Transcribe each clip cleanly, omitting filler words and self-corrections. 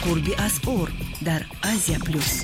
Қурби асъор дар Азия Плюс.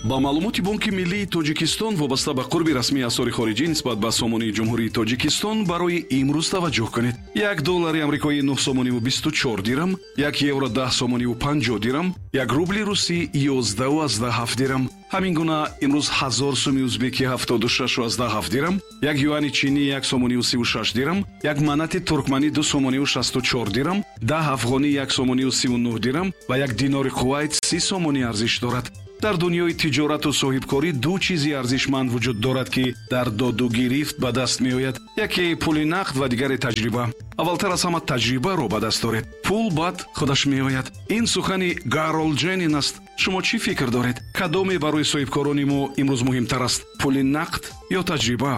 Ба маълумоти Бонки Миллии Тоҷикистон вобаста ба қурби расмии асъори хориҷӣ нисбат ба сомонии Ҷумҳурии Тоҷикистон барои имрӯз таваҷҷӯҳ кунед. 1 доллари амрикоӣ 9 сомониву 24 дирам, 1 евро 10 сомониву 50 дирам, 1 рубли русӣ 11,7 дирам. Ҳамин гуна имрӯз 1000 суми узбекӣ 76,7 дирам, 1 юани чинӣ 1 сомониву 36 дирам, 1 манати туркманӣ 2 сомониву 64 дирам, 10 афғонӣ 1 сомониву 39 дирам ва 1 динори Кувайт 30 сомонӣ арзиш дорад. Дар дунёи тиҷорату соҳибкорӣ ду чизи арзишманд вуҷуд дорад, ки дар доду гирифт ба даст меояд. Яке пули нақд ва дигаре таҷриба. Аввалтар аз ҳама таҷрибаро ба даст доред. Пул баъд худаш меояд. Ин сухани Гаролд Дженин аст. Шумо чӣ фикр доред? Кадоме барои соҳибкорони мо имрӯз муҳимтар аст? Пули нақд ё таҷриба?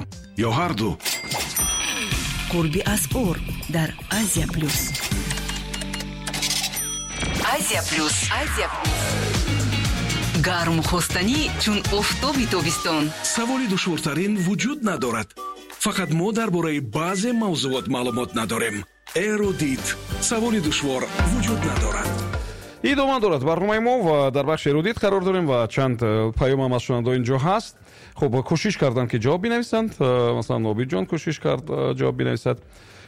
Ё ҳарду? Қурби асъор дар Азия Плюс. Азия Плюс. Азия Плюс. Гарму хостанӣ чун офтоби тобистон. Саволи душвортарин вуҷуд надорад. Фақат мо дар бораи баъзе мавзуот маълумот надорем. Эрудит. Саволи душвор вуҷуд надорад. Идома дорад барномаи мо ва дар бахши эрудит қарор дорем ва чанд паёмам аз шунавандаҳо инҷо ҳаст. Хуб, кӯшиш карданд, ки ҷавоб бинависанд. Масалан, Обидҷон кӯшиш кард ҷавоб бинависад.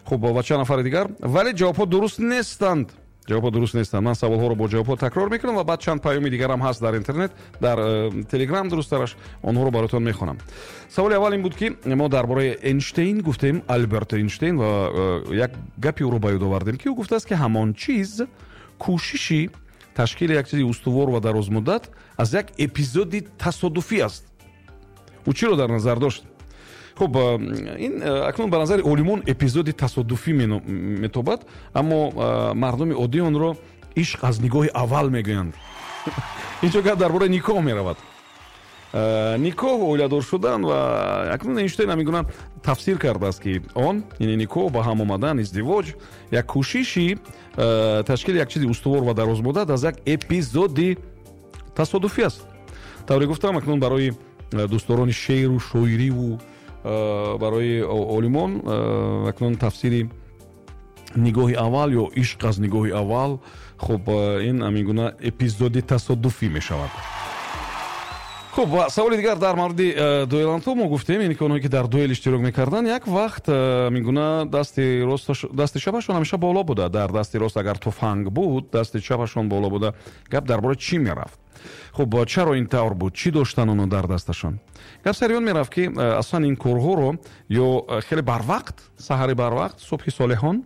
Хуб, ва чанд нафари дигар, вале ҷавобҳо дуруст нестанд. Ҷавобҳо дуруст нестанд. Ман саволҳоро бо ҷавобҳо такрор мекунам ва баъд чанд паёми дигарам ҳаст дар интернет, дар Телеграм дурусттараш, онҳоро бароятон мехонам. Саволи аввал ин буд, ки мо дар бораи Эйнштейн гуфтем, Альберт Эйнштейн, ва як гапи ӯро ба ёд овардем, ки ӯ гуфтааст, ки ҳамон чиз кӯшиши ташкили як чизи устувор ва дарозмуддат аз як эпизоди тасодуфӣ аст. Ӯ чиро дар назар дошт? Хуб, ин акнун ба назари олимон эпизоди тасодуфӣ метобад, аммо мардуми оддӣ онро ишқ аз нигоҳи аввал мегӯянд. Инҷо гап дар бораи никоҳ меравад. Никоҳ, оиладор шудан, ва акнун Эйнштейн ҳамин гуна тафсир кардааст, ки он, яъне никоҳ, ба ҳам омадан, издивоҷ, як кӯшиши ташкили як чизи устувор ва дарозмуддат аз як эпизоди тасодуфӣ аст. Тавре гуфтам, акнун барои дӯстдорони шеъру шоириву барои олимон акнун тафсири нигоҳи аввал ё ишқ аз нигоҳи аввал, хуб, ин ҳамин гуна эпизоди тасодуфӣ мешавад. Хуб, ва саволи дигар дар мавриди дуэлантҳо мо гуфтем, яъне ки онҳое, ки дар дуэл иштирок мекарданд, як вақт ҳамин гуна дасти чапашон ҳамеша боло буда. Дар дасти рост агар туфанг буд, дасти чапашон боло буда. Гап дар бораи чӣ мерафт? Хуб, чаро ин тавр буд? Чӣ доштан онҳо дар дасташон? Гап сари он мерафт, ки аслан ин корҳоро ё хеле барвақт, саҳари барвақт, субҳи солеҳон,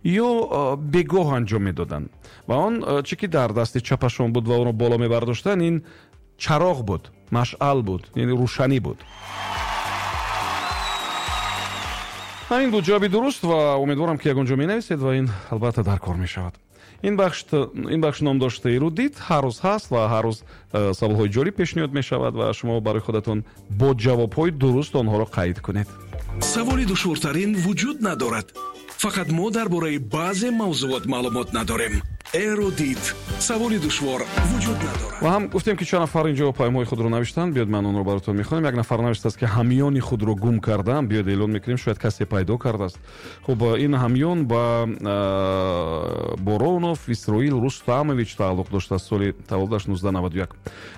ё бегоҳ анҷом медоданд. Ва он чӣ ки дар дасти чапашон буд ва онро боло мебардоштанд, ин чароғ буд, машъал буд, яъне рӯшанӣ буд. Ҳамин буд ҷавоби дуруст ва умедворам, ки ягон ҷо менависед ва ин албатта дар кор мешавад. Ин бахш ном дошта эрудит ҳар рӯз ҳаст ва ҳар рӯз саволҳои ҷолиб пешниҳод мешавад ва шумо барои худатон бо ҷавобҳои дуруст онҳоро қайд кунед. Саволи душвортарин вуҷуд надорад. Фақат мо дар бораи баъзе мавзуот маълумот надорем. Эрудит. Саволи душвор вуҷуд надорад. Ва ҳам гуфтем, ки чанд нафар инҷо паёмҳои худро навиштанд. Биёд ман онро баротон мехонам. Як нафар навиштааст, ки ҳамёни худро гум кардам. Биёд эълон мекунем, шояд касе пайдо кардааст. Хуб, ин ҳамён ба Боронов Исроил Рустамович тааллуқ доштааст, соли таваллудаш 1991.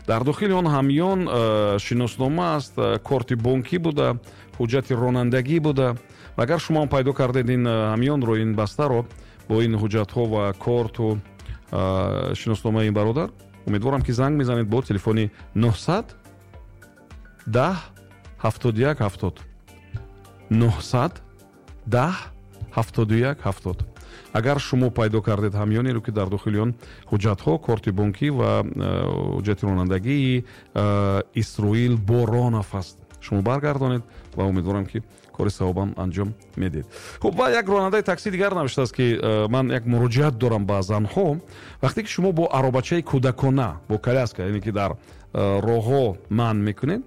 Дар дохили он ҳамён шиноснома аст, корти бонкӣ буда, ҳуҷҷати ронандагӣ буда. Ва агар шумо ҳам пайдо кардед ин ҳамёнро, ин бастаро бо ин ҳуҷҷатҳо ва корту шиносномаи ин бародар, умедворам, ки занг мезанед бо телефони 900 10 71 70, 900 10 71 70. Агар шумо пайдо кардед ҳамёнеро, ки дар дохили он ҳуҷҷатҳо, корти бонкӣ ва ҳуҷҷати ронандагии Исроил Боронов аст, шумо баргардонед ва умедворам, ки кори савобам анҷом медиҳед. Хуб, ва як ронандаи такси дигар навиштааст, ки ман як муроҷиат дорам ба занҳо. Вақте ки шумо бо аробачаи кӯдакона, бо коляска, яъне ки дар роҳҳо манъ мекунед,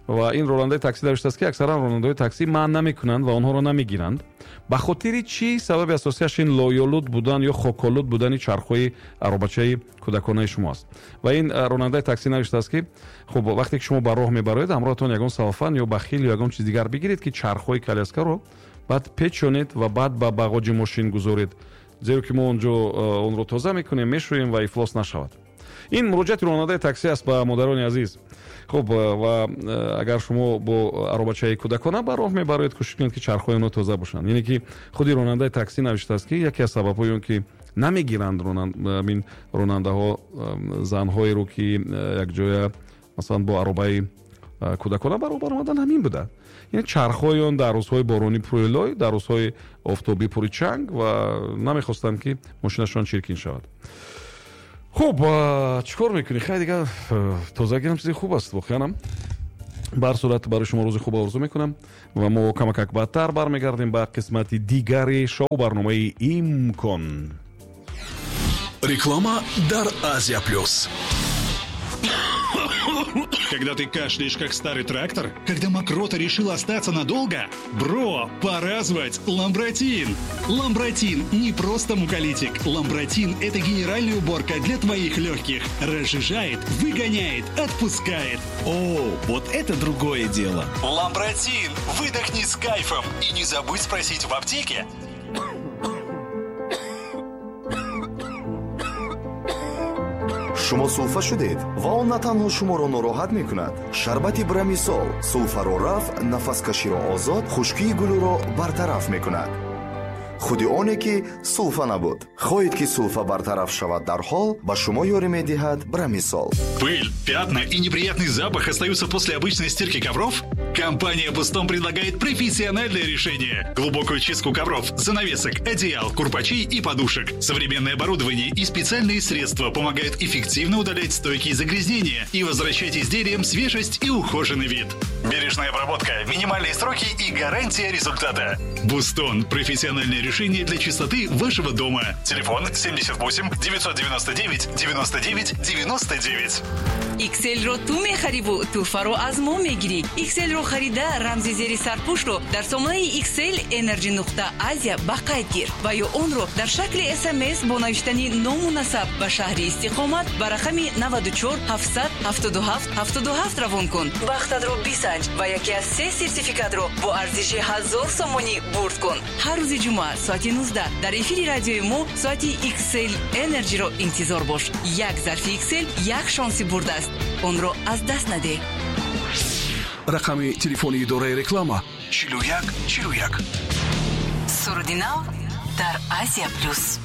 ва ин ронандаи такси навиштааст, ки аксаран ронандаҳои такси манъ намекунанд ва онҳоро намегиранд. Ба хотири чӣ? Сабаби асосияш ин лоёлуд будан ё хоколуд будани чархҳои аробачаи кӯдаконаи шумо аст. Ва ин ронандаи такси навиштааст, ки хуб, вақте ки шумо ба роҳ мебароед, ҳамроҳатон ягон салфан ё бахил ё ягон чиз дигар бигиред, ки чархҳои коляскаро баъд печонед ва баъд ба бағоҷи мошин гузоред. Зеро ки мо он ҷо онро тоза мекунем, мешӯем ва ифлос нашавад. Ин муроҷиати ронандаи такси аст ба модарони азиз. Хуб, ва агар шумо бо аробачаи кӯдакона ба роҳ мебароед, кӯшиш кунед, ки чархҳои онҳо тоза бошанд. Яъне ки худи ронандаи такси навиштааст, ки яке аз сабабҳои он ки намегиранд ин ронандаҳо занҳоеро, ки якҷоя масалан бо аробаи кӯдакона ба роҳ баромадан, ҳамин буда. Яъне чархҳои он дар рӯзҳои боронӣ пури лой, дар рӯзҳои офтобӣ пури чанг, ва намехостанд, ки мошинашон чиркин шавад. Хуб, чӣ кор мекунӣ? Хай, дигар тозагиам чизи хуб аст воқеанам. Ба ҳар сурат, барои шумо рӯзи хуб орзу мекунам ва мо камакак баъдтар бармегардем ба қисмати дигари шоу барномаи «Имкон». Реклама дар Азия Плюс. Когда ты кашляешь, как старый трактор? Когда мокрота решила остаться надолго? Бро, пора звать Ламбратин! Ламбратин не просто муколитик. Ламбратин – это генеральная уборка для твоих легких. Разжижает, выгоняет, отпускает. О, вот это другое дело. Ламбратин! Выдохни с кайфом. И не забудь спросить в аптеке. Шумо сулфа шудед ва он на танҳо шуморо нороҳат мекунад. Шарбати Брамисол сулфаро рафъ, нафаскаширо озод, хушкии гулӯро бартараф мекунад. Худи оне ки сулфа набуд. Хоҳед, ки сулфа бартараф шавад дарҳол, ба шумо ёрӣ медиҳад Брамисол. Пыль, пятна и неприятный запах остаются после обычной стирки ковров? Компания «Бустон» предлагает профессиональное решение. Глубокую чистку ковров, занавесок, одеял, курпачей и подушек. Современное оборудование и специальные средства помогают эффективно удалять стойкие загрязнения и возвращать изделиям свежесть и ухоженный вид. Бережная обработка, минимальные сроки и гарантия результата. «Бустон» – профессиональное решение для чистоты вашего дома. Телефон 78 999 99 99. XL-ро ту мехариву тӯҳфаро аз мо мегирӣ. XL-ро харида, рамзи зери сарпӯшро дар сомонаи XL Energy нуқта Азия ба қайд гир ва ё онро дар шакли СМС бо навиштани ному насаб ба шаҳри истиқомат ба рақами 94 777 77 равон кун. Бахтатро бисанҷ ва яке аз се сертификатро бо арзиши 1000 сомонӣ бурд кун. Ҳар рӯзи ҷумъа соати 19 дар эфири радиои мо соати XL Energy-ро интизор бош. Як зарфи XL як шонси бурд аст, онро аз даст надеҳ. Рақами телефони идораи реклама 41 41. Суруди нав дар Азия Плюс.